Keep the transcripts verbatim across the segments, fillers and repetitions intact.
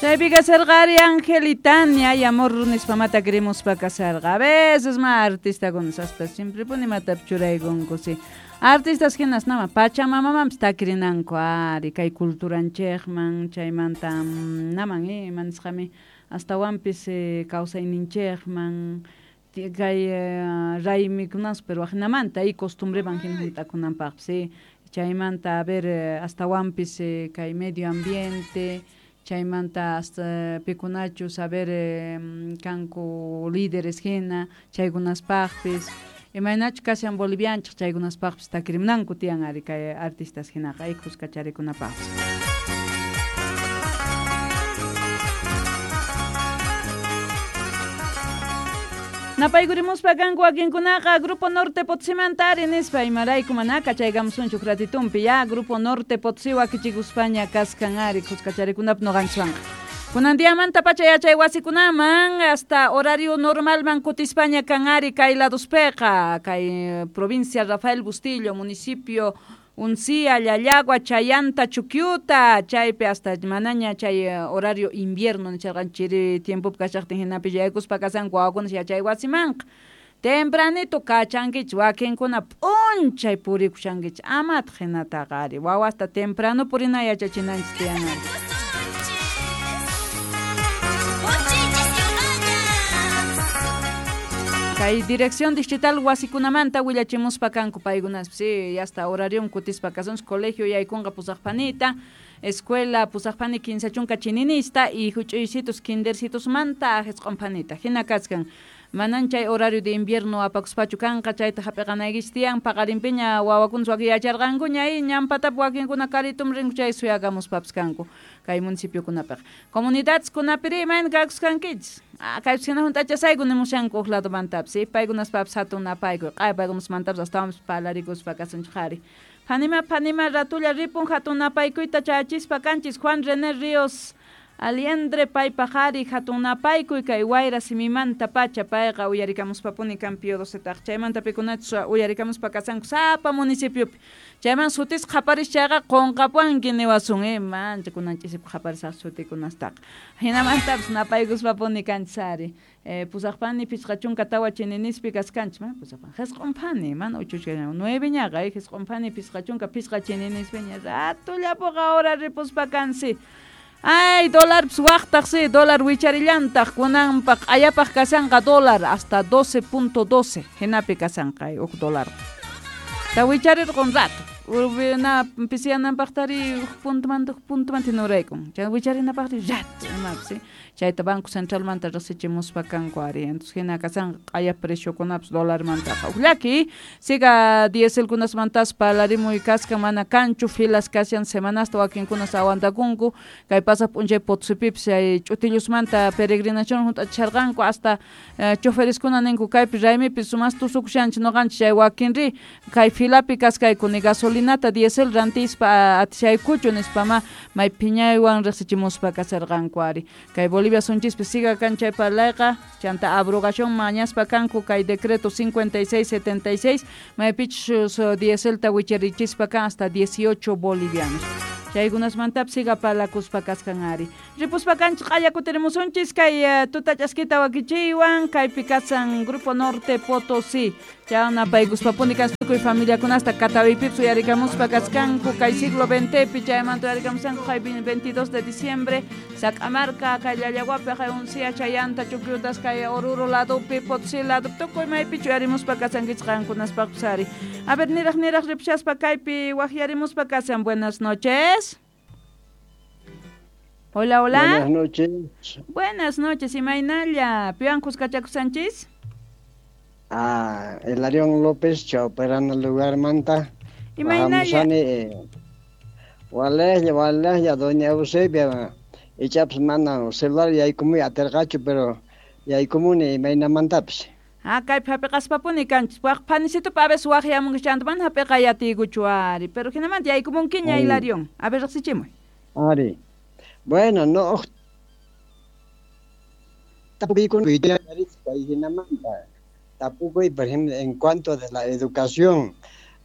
Chaypi kasarqa ari Angelitania y amor nispamata querimuspa kasarqa. A veces ma artistakuna hasta siempre puni matapi churaykunku si. Artistas hinas nama pachamamamanpis takirinanku ari kay culturanchikman chaymanta naman eh manisqami astawanpis eh, kawsayninchikman kay eh, raymikunas pero ajinamanta y costumbreman hina hunt'akunanpaqpis eh. Chaymanta a ver eh, astawanpis eh, kay medio ambiente chaymanta hasta pikunachus a ver eh, kanku líderes hina chaykunaspaqpis imaynachu kashan bolivianchik chaykunaspaqpis takirimnanku tiyan ari kay artistas hinaqa y kuskacharikunapaqpis. Napaykurimuspa kanku wakinkunaqa Grupo Norte Potosímanta ari nispa imarayku mana kachaykamusunchu ratitumpi ya Grupo Norte Potosí wakichikuspaña kaskan ari kuskacharikunap noqanchikwanqa. Kunan diamanta pacha yachay wasikunaman hasta horario normalman kutispaña kan ari kay ladospeqa kay provincia Rafael Bustillo municipio Uncía, Llallagua, Chayanta, Chuquiuta, chaypi hasta manaña chay horario invierno nicharqan chiri tiempopi kashaqtin hinapi yaykuspa kasanku wawakuna yachay wasimanqa. Tempranito kachankichik wakinkuna p'unchay purikushankichik amataq hinataqa ari wawasta temprano purina yachachinanchik tiyan ari. Kay dirección distrital wasikunamanta willachimuspa kanku paykunaspis sí, hasta horarion kutispa kasunchik colegio yaykunqa pusaqpanita escuela pusaqpani kinsa chunka chininista y huch'uysitus kindercitusmanta ahisq'unpanita hina kachkan manan chay horario de invierno apakuspachu kanqa chayta hap'iqanaykichik tiyan paqarinpiña wawakunas wakin yacharqankuña y ñampatapi wakinkuna karitum rinku chay suyakamuspapis kanku kay municipiokunapiqa. Comunidadeskunapiri imayna kakuskankichik ah, kaypis hina hunt'achasayku nimushanku huk ladomantapis sí, paykunaspapis hatun napaykuy q'aya paykunasmantapis astawanpis parlarikuspa kasunchik ari. Phanima phanima ratulla ripun hatun napaykuyta chayachispa kanchis Juan René Ríos Aliendre paypaq ari hatun napaykuy kay wayra simimanta pacha payqa uyarikamuspapuni kan Pío docetaq chaymanta pikunachus uyarikamuspa kasanku sapa municipiopi chayman sutisqa qhaparis chayqa qunqapuanki niwasun eh mancha kunan ch'isipi qhaparisaq sutikunastaqa hinamantapis napaykuspapuni kanchis ari eh, pusaqpani pichqa chunka tawa chininispi kaskanchik ma pusaqpani hisq'unpani mana uchuchka nueveñaqa eh hisq'unpani pichqa chunka pichqa chininispiña ratullapuqa hora ripuspa kansi. Ay, dólar waqtaq sí, dólar wicharillantaq kunanpaq q'ayapaq kasanqa dólar hasta doce punto doce hinapi kasanqa huk dólar. Ta wicharirqun rato. Urbina pisiyananpaqtari huk puntomanta huk puntomanta hinuraykun. Chay wicharinapaqri rato imapis sí. Chayta Banco Centralmanta riqsichimuspa kanku ari. Entonces hina kasanqa q'aya preciokunapas dólarmantaqa. Huk llaki siga dieselkunasmantas parlarimuy kaskan mana kanchu filas kashan semanasta wakinkunas aguantakunku kay pasaq p'unchay Potosipipis chay ch'utillusmanta peregrinación hunt'achisharqanku hasta eh, chofereskuna ninku kaypi raymipi sumas tusukushanchik noqanchik chay wakinri kay filapi kaskayku ni gasolinata diesel rantispa atishaykuchu nispama may phiñaywan riqsichimuspa kasarqanku ari. Kay Bolivia sunchispi siga kan chay parlayqa chanta abrogación mañaspa kanku kay decreto cincuenta y seis setenta y seis maypichus dieselta wicharichispa kan hasta dieciocho bolivianos. Chaykunasmantapis siga parlakuspa kaskan ari. Ripuspa kanchik q'aya kutirimusunchis kay uh, tuta ch'askita wakichiywan kaypi kasan Grupo Norte Potosí. Chay napaykuspapuni kas tukuy familiakunasta Catawipipis uyarikamuspa kaskanku kay siglo veintepi chaymanta uyarikamusanku kay veintidós de diciembre Sac'amarka kay Llallaguapi kay Uncía Chayanta Chuquiutas kay Oruro ladopi Potosí ladopi tukuy maypichu uyarimuspa kasankichik qankunaspaqpis ari. A ver niraq niraq ripshaspa kaypi waqyarimuspa kasan. Buenas noches. Hola, hola. Buenas noches. Buenas noches, imaynalla. Piwan kuskachakusanchis? Ah, Hilarión López, Chauperana lugar manta. Imaynalla. Walejlla, walejlla, doña Eusebia. Ichapas mana celular yaykumuy atirqachu, pero yaykumuni imaynamantapis. Ah, kaypi hapiqaspapuni kanchis. Waq phanisitupi a veces waqyamunki chanta mana hapiqay atiykuchu ari, pero hinamanta yaykumunkiña Hilarión. A ver, riqsichimuy. Ari. Bueno, no tapukuy, por ejemplo, en cuanto de la educación,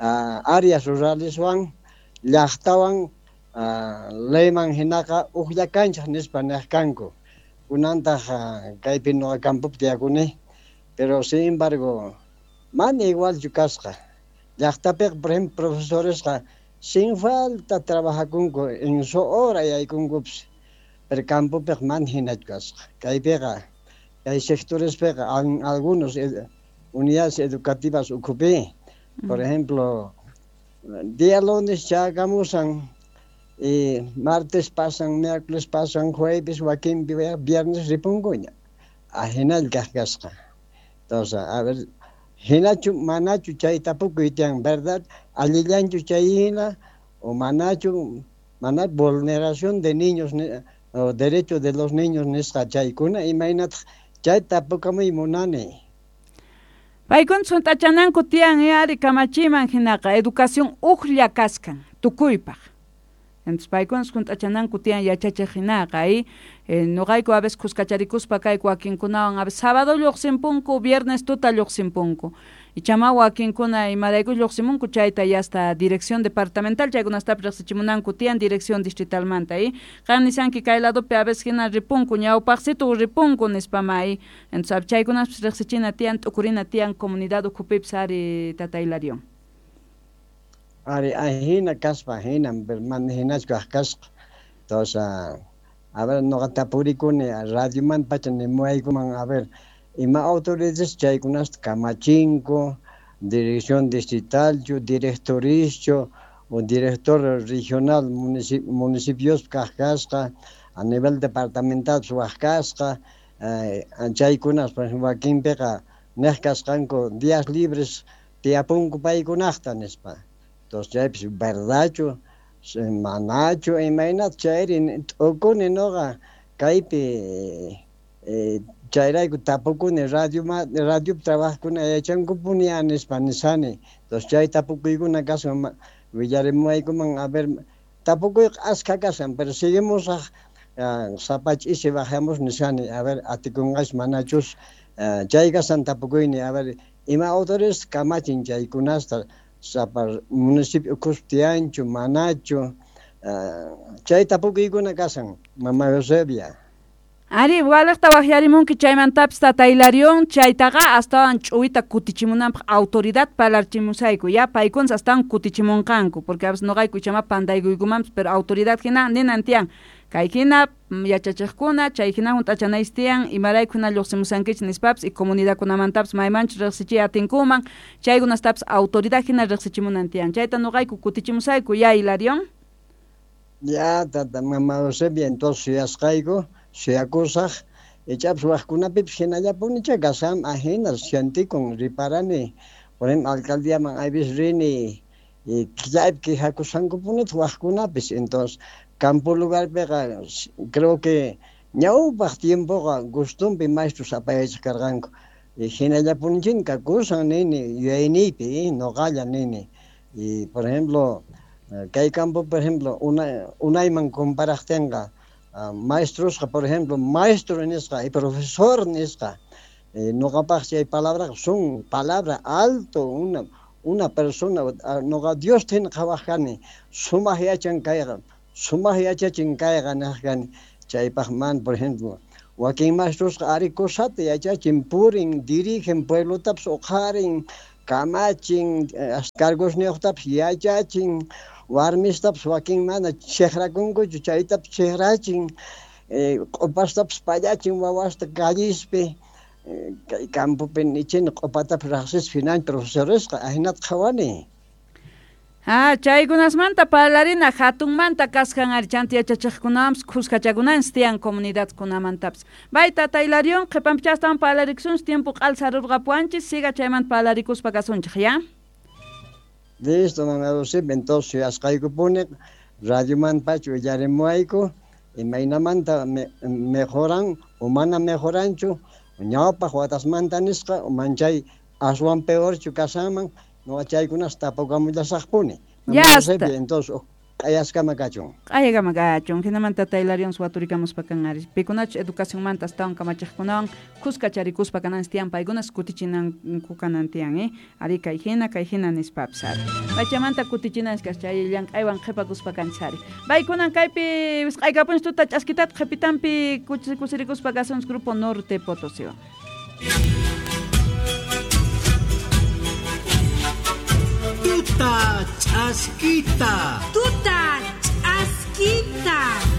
uh, áreas rurales wan, llaqtawan, uh, leyman hinaqa ujlla kanchaj nispa nej kanku. Kunantaj uh, kaypi noqa campopi tiyakuni, pero sin embargo mana igualchu kasqa. Llaqtapiqa, por ejemplo, profesoresqa sin falta trabajakunku en su hora yaykunkupis, pero campopiqa mana hinachu kasqa. Kaypiqa kay sectorespiqa algunos unidades educativas ukhupi, por ejemplo, día lunes chakamusan y martes pasan, miércoles pasan, jueves, wakinpi viernes ripunkuña. Ajinalla kaq kasqa. Entonces, a ver, hinachu manachu chay tapukuy tiyan, verdad? Allillanchu chay hina o manachu mana vulneración de niños o derecho de los niños nisqa chaykuna imaynataq chay tapukamuy munani. Paykuna hunt'achananku tiyan ari kamachiman hinaqa educación ujlla kaskan tukuypaq. Entonces paykuna hunt'achananku tiyan yachachiq hinaqa y eh, noqayku a veces kuskacharikuspa kayku wakinkunawan a veces sábado lluqsinpunku, viernes tuta lluqsinpunku. Ichama wakinkuna imarayku lluqsimunku chayta yasta dirección departamental chaykunastapis riqsichimunanku tiyan dirección distritalmanta y qan nisanki kay ladopi a veces hina ripunku ñawpaqsitu ripunku nispama y entonces chaykunaspis riqsichina tiyan t'ukurina tiyan comunidad ukhupipis ari tata Hilarión. Ari ahina kaspa hina mana hinachu kaq kasqa. Entonces, a ver, noqa tapurikuni radioman pacha nimuwaykuman, a ver, ima autoridades chaykunasta kamachinku, dirección distritalchu, directorischu, o director regional municip municipiospi kaq kasqa, a nivel departamental waq kasqa, eh, chaykunas, por ejemplo, wakinpiqa nej kasqanku días libres tiyapunku paykunaqta nispa. Entonces chaypis verdadchu, manachu, imaynata chayri t'ukuni noqa kaypi eh, chayrayku tapukuni radio radiopi trabajakuna yachankupuni nispa nisani. Entonces chay tapukuykuna kashan willarimuwaykuman, a ver, tapukuyqa askha kashan, pero seguimos uh, sapa ch'isi bajamos nisani, a ver, atikunqachus manachus, uh, chay kashan tapukuyni, a ver, ima autores kamachin chaykunasta sapa municipio ukhuspi tiyanchu manachu, uh, chay tapukuykuna kashan, mama Eusebia. Ari, waliqta waqyarimunki chaymantapis tata Hilarión, chaytaqa astawan ch'uwita kutichimunanpaq autoridad parlarchimusayku, ya paykunas astawan kutichimunqanku, porque a veces noqayku ichama pantaykuykumanpis, pero autoridad hina ninan tiyan, kay hina yachachiqkuna, chay hina hunt'achanaysi tiyan, imarayku hina lluqsimusankichis nispapis y comunidadkunamantapis maymanchus riqsichiy atinkuman, chaykunastapis autoridad hina riqsichimunan tiyan, chayta noqayku kutichimusayku, ya Hilarión. Ya, tata mama Eusebia, entonces suyasqayku, suyakusaq, ichapis waqkunapipis hinallapunicha kashan ajina sientikun riparani, por ejemplo, alcaldíaman aypis rini y chaypi quejakushankupunitaq waqkunapis, entonces campo lugarpiqa creo que ñawpaq tiempoqa gustunpi maestros apayachaq karqanku, y hinallapunichina kakusan nini yuyayniypi, noqalla nini, y por ejemplo, kay campo, por ejemplo, una unayman comparaqtinqa, Uh, maestrosqa, por ejemplo, maestro nisqa y profesor nisqa, eh, noqapaq chay palabraqa son palabra alto, una una persona, uh, noqa Dios hina qhawaq kani, sumaq yachan kayqa, sumaq yachachin kayqa niq kani, chaypaq man, por ejemplo, wakin maestrosqa ari cosata yachachin, purin, dirigen pueblotapis uqharin, kamachin, cargosniyuqtapis yachachin, warmistapis wakin mana chiqrakunkuchu chaytapis chiqrachin, eh, q'upastapis pallachin wawasta callispi, eh, kay campopi nichini q'upatapis riqsispa hinan profesoresqa ahinata qhawani. Ah, chaykunasmanta parlarina hatunmanta kashan ari chanta yachachiqkunawanpis kuskachakunanchis tiyan comunidadkunamantapis. Bay tata Hilarión, qhipanpicha astawan parlarikusunchis, tiempo q'alsarurqapuwanchis, siga chaymanta parlarikuspa kasunchik, ya? Listo, mama Eusebia, entonces suyasqaykupuni radioman pacha willarimuwayku, imaynamanta me, mejoran o mana mejoranchu, ñawpaq watasmanta nisqa, o manchay aswan peorchu kashanman, noqa chaykunas tapukamullasaqpuni. Ya Mama está. Eusebia, entonces Q'ayaskama kachun. Q'ayakama kachun. Jinamanta tata Hilarion waturikamuspa kan ari. Pikunachus educacionmanta astawan kamachiqkunawan khuska charikuspa kananchis tiyan paykunas kutichinanku kanan tiyan, eh? Ari kay hina, kay hina nispapis ari. Pachamanta kutichinanchis kas chay llank'aywan qhipakuspa kanchis ari. Paykunan kaypi wisq'aykapunchis tuta ch'askitata qhipitanpi kusirikuspa kasunchis Grupo Norte Potosíwan. Tuta ch'askita. Tuta ch'askita.